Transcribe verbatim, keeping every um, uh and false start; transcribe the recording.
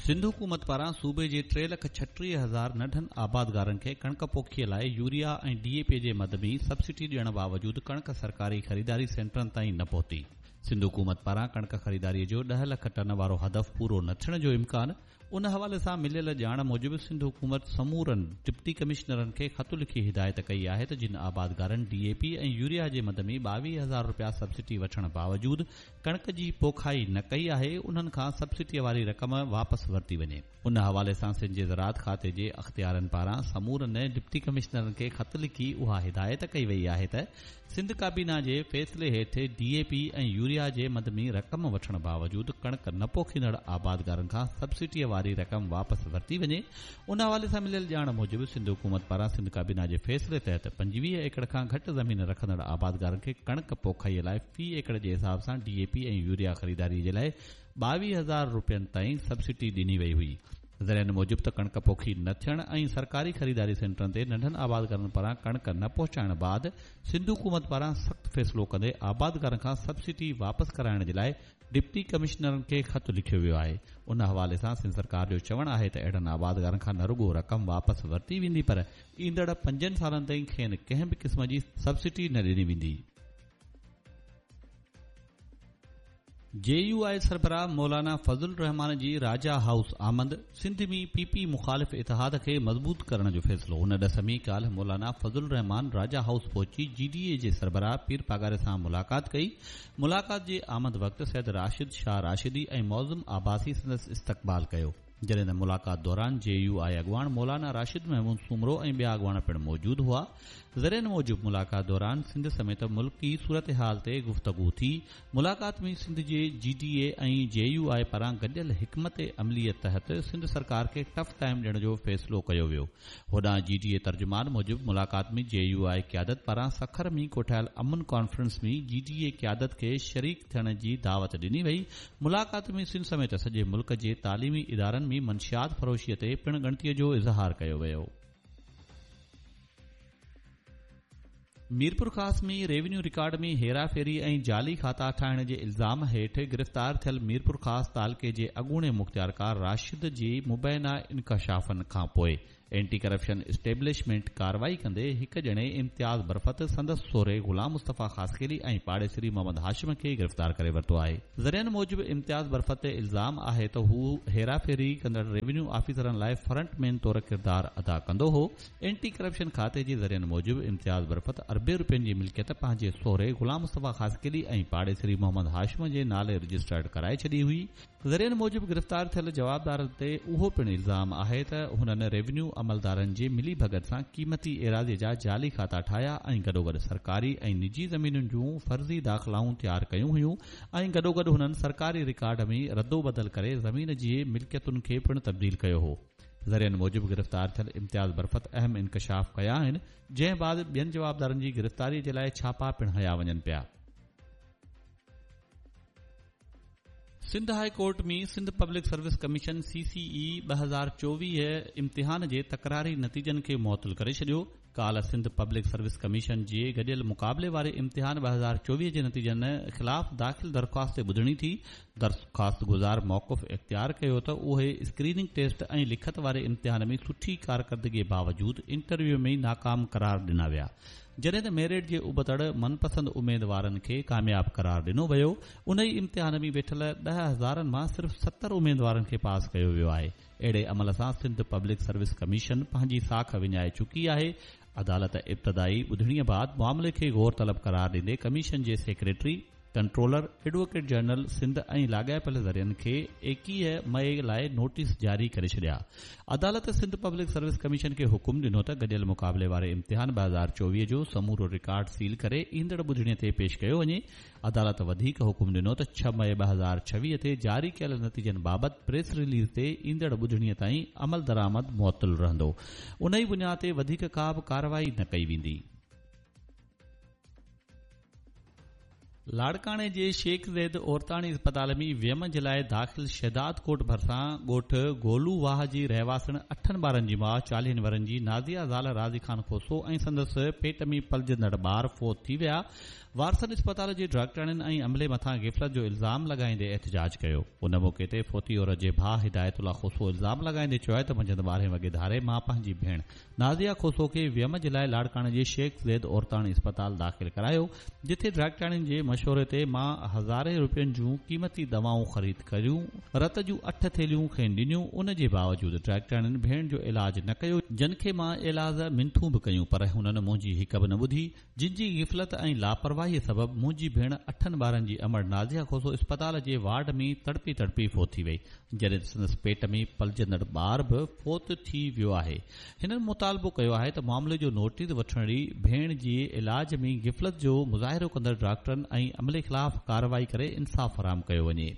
سنڌ حڪومت پاران صوبي جي ٽي لک ڇٽيهه هزار ننڍن آبادگارن کي ڪڻڪ پوکيء لاء يوريا ۽ ڊي اي پي جي مد ۾ سبسڊي ڏيڻ باوجود ڪڻڪ سرڪاري خريداري سينٽرن تائين نه پهتي. سنڌ حڪومت پاران ڪڻڪ خريداري جو ڏهه لک ٽن وارو هدف پورو نه ٿيڻ جو امڪان. ان حوالي سان مليل ڄاڻ موجب سنڌ حڪومت سمورن ڊپٽي ڪمشنرن کي خط لکي هدايت ڪئي آهي ته جن آبادگارن ڊي اي پي ۽ يوريا جي مد ۾ ٻاويهه هزار رپيا سبسڊي وٺڻ باوجود ڪڻڪ جي پوکائي نه ڪئي آهي، انهن کان سبسڊي واري رقم واپس ورتي وڃي. ان حوالي سان سنڌ جي زراعت کاتي جي اختيارن پاران سمورن ڊپٽي ڪمشنرن کي خط لکي اها هدايت ڪئي وئي آهي ته سنڌ ڪابينا جي فيصلي هيٺ ڊي اي پي ۽ يوريا جي مد ۾ رقم وٺڻ باوجود ڪڻڪ نه پوکيندڙ آبادگارن کان سبسڊي واري رقم واپس ورتي وڃي. ان حوالي سان مليل ڄاڻ موجب سنڌ حڪومت پاران سنڌ ڪابينا جي فيصلي تحت پنجويهه ايڪڙ کان گهٽ زمين رکندڙ آبادگارن کي ڪڻڪ پوکائي لاء في ايڪڙ جي حساب سان ڊي اي پي ۽ يوريا خريداري جي لاء ٻاويهه هزار رپين تائين سبسڊي ڏني وئي هئي. ذريعن موجب ته ڪڻڪ پوکي نه ٿيڻ ۽ سرڪاري خريداري سينٽرن تي ننڍن آبادگارن پاران ڪڻڪ نه پهچائڻ بعد سنڌ حڪومت پاران سخت فيصلو ڪندي آبادگارن کان سبسڊي واپس ڪرائڻ جي لاء ڊپٽي ڪمشنرن کي خط لکيو ويو آهي. ان حوالي سان سنڌ سرڪار جو چوڻ آهي ته اهڙن آبادگارن کان نه رڳو رقم واپس ورتي ويندي پر ايندڙ پنجن سالن تائين کين ڪنهن به قسم جي سبسڊي نه ڏني ويندي. جي يو آء سربراهه مولانا فضل الرحمان جي راجا هائوس آمد، سنڌ ۾ پي پي مخالف اتحاد کي مضبوط ڪرڻ جو فيصلو. ان ڏس ۾ ڪالهه مولانا فضل الرحمان راجا هائوس پهچي جي ڊي اي جي سربراهه پير پاڳاري سان ملاقات ڪئي. ملاقات جي آمد وقت سيد راشد شاهه راشدي ۽ معظم عباسي سندس استقبال ڪيو، جڏهن ته ملاقات دوران جي يو آء اڳواڻ مولانا راشد محمود سومرو ۽ ٻيا اڳواڻ پڻ موجود هئا. ذريعن موجب ملاقات دوران سنڌ سميت ملڪي صورتحال تي گفتگو ٿي. ملاقات ۾ سنڌ جي جي ڊي اي ۽ جي يو آء پاران گڏيل حڪمت عملي تحت سنڌ سرڪار کي ٽف ٽائيم ڏيڻ جو فيصلو ڪيو ويو. هوڏانهن جي ڊي اي ترجمان موجب ملاقات ۾ جي يو آء قيادت پاران سکر ۾ ڪوٺايل امن ڪانفرنس ۾ جي ڊي اي قيادت کي شريڪ ٿيڻ جي دعوت ڏني وئي. ملاقات ۾ سنڌ سميت سڄي ملڪ جي تعليمي ادارن ۾ منشيات فروشي تي پڻ ڳڻتي جو اظهار ڪيو ويو. ميرپورخاص ۾ ريونيو رڪارڊ ۾ هيراڦيري ۽ جعلي کاتا ٺاهڻ جي الزام هيٺ گرفتار ٿيل ميرپورخاص تعلقي جي اڳوڻي مختيارڪار راشد جي مبينا انڪشافن کانپوء اينٽي ڪرپشن اسٽيبلشمينٽ ڪارروائي ڪندي هڪ ڄڻي امتياز برفت، سندس سهري غلام مصطفيٰ خاصخيلي ۽ پاڙيسري محمد هاشم کي گرفتار ڪري ورتو آهي. ذريعن موجب امتياز برفت تي الزام آهي ته هو هيراڦيري ڪندڙ ريونيو آفيسرن لاء فرنٽ مين طور ڪردار ادا ڪندو هو. اينٽي ڪرپشن کاتي جي ذريعن موجب امتياز برفت اربين رپين جي ملڪيت پنهنجي سهري غلام مصطفيٰ خاصخيلي ۽ پاڙيسري محمد هاشم جي نالي رجسٽرڊ ڪرائي ڇڏي هئي. ذريعن موجب گرفتار ٿيل جوابدارن تي اهو پڻ الزام آهي ته هنن ريونيو عملدارن جي ملي ڀڳت سان قيمتي ايراضي جا جعلي کاتا ٺاهيا ۽ گڏوگڏ سرڪاري ۽ نجي زمينن جون فرضي داخلائون تيار ڪيون هيون ۽ گڏوگڏ هنن سرڪاري رڪارڊ ۾ ردوبدل ڪري زمين جي ملڪيتن کي پڻ تبديل ڪيو هو. ذريعن موجب گرفتار ٿيل امتياز برفت اهم انڪشاف ڪيا آهن، جنهن بعد ٻين جوابدارن جي گرفتاري جي لاء ڇاپا پڻ هنيا وڃن پيا. Sindh high court ۾ Sindh public service commission C C اي ٻه هزار چوويهه امتحان جي تڪراري نتيجن کي معطل ڪري ڇڏيو. ڪالهه سنڌ پبلڪ سروس ڪميشن جي گڏيل مقابلي واري امتحان ٻه هزار چوويهه جي نتيجن خلاف داخل درخواست تي ٻڌڻي ٿي. درخواستگذار موقف اختيار ڪيو ته اهي اسڪريننگ ٽيسٽ ۽ لکت واري امتحان ۾ سٺي ڪارڪردگي باوجود انٽرويو ۾ ناڪام قرار ڏنا ويا، جڏهن ته ميرٽ جي ابتڙ من پسند اميدوارن کي ڪامياب قرار ڏنو ويو. انهي امتحان ۾ ويٺل ڏهه هزارن مان صرف ستر اميدوارن کي پاس ڪيو ويو آهي. اهڙي عمل سان سنڌ پبلڪ سروس ڪميشن پنهنجي ساک وڃائي چڪي آهي. عدالت ابتدائي ٻڌڻي بعد معاملي کي غور طلب قرار ڏيندي ڪميشن جي secretary, controller, advocate general Sindh ۽ لاڳاپيل ذريعن کي ايڪيهه مئي لاء نوٽيس جاري ڪري ڇڏيا. عدالت سنڌ پبلڪ سروس ڪميشن کي حڪم ڏنو ته گڏيل مقابلي واري امتحان ٻه هزار چوويهه جو سمورو رڪارڊ سيل ڪري ايندڙ ٻڌڻي تي پيش ڪيو وڃي. عدالت وڌيڪ حڪم ڏنو ته ڇهه مئي ٻه هزار ڇويهه تي جاري ڪيل نتيجن بابت پريس رليز تي ايندڙ ٻڌڻي تائين عملدرآمد معطل رهندو، انهي بنياد تي وڌيڪ ڪا به ڪارروائي نه ڪئي ويندي. لاڙڪاڻي جي شيخ زيد عورتاڻي اسپتال ۾ ويم جي لاء داخل شهداد ڪوٽ ڀرسان ڳوٺ گولو واهه جي رهواسڻ اٺن ٻارن جي ماء چاليهن ورهين جي نازيه زال راضي خان کوسو ۽ سندس پيٽ ۾ پلجندڙ ٻار فوت ٿي ويا. وارثن اسپتال جي ڊاڪٽرن ۽ عملي مٿان غفلت جو الزام لڳائيندي احتجاج ڪيو. ان موقعي تي فوتي عورت جي ڀاء هدايت الله کوسو الزام لڳائيندي چيو آهي ته منجهند ٻارهين وڳي ڌاري مان پنهنجي ڀيڻ نازيه کوسو کي ويم جي لاء لاڙڪاڻي جي شيخ زيد عورتاڻي اسپتال داخل ڪرايو، جتي ڊاڪٽرن جي مشوري تي مان هزارين روپين جون قيمتي دوائون خريد ڪيون، رت جون اٺ ٿيلهيون کين ڏنيون، ان جي باوجود ڊاڪٽرن ڀيڻ جو علاج نه ڪيو، جن کي مان ايلاز منٿون به ڪيون پر هنن منهنجي هڪ به نه ٻڌي، جن جي غفلت ۽ لاپرواهي سبب منهنجي ڀيڻ اٺن ٻارن جي امڙ نازيه کوسو اسپتال جي وارڊ ۾ تڙپي تڙپي فوت ٿي وئي، جڏهن ته سندس پيٽ ۾ پلجندڙ ٻار به فوت ٿي ويو آهي. هنن مطالبو ڪيو آهي ته معاملي جو نوٽيس وٺڻ ڀيڻ جي علاج ۾ غفلت جو مظاهرو ڪندڙ ڊاڪٽرن ۽ عملي خلاف ڪارروائي ڪري انصاف فراهم ڪيو وڃي.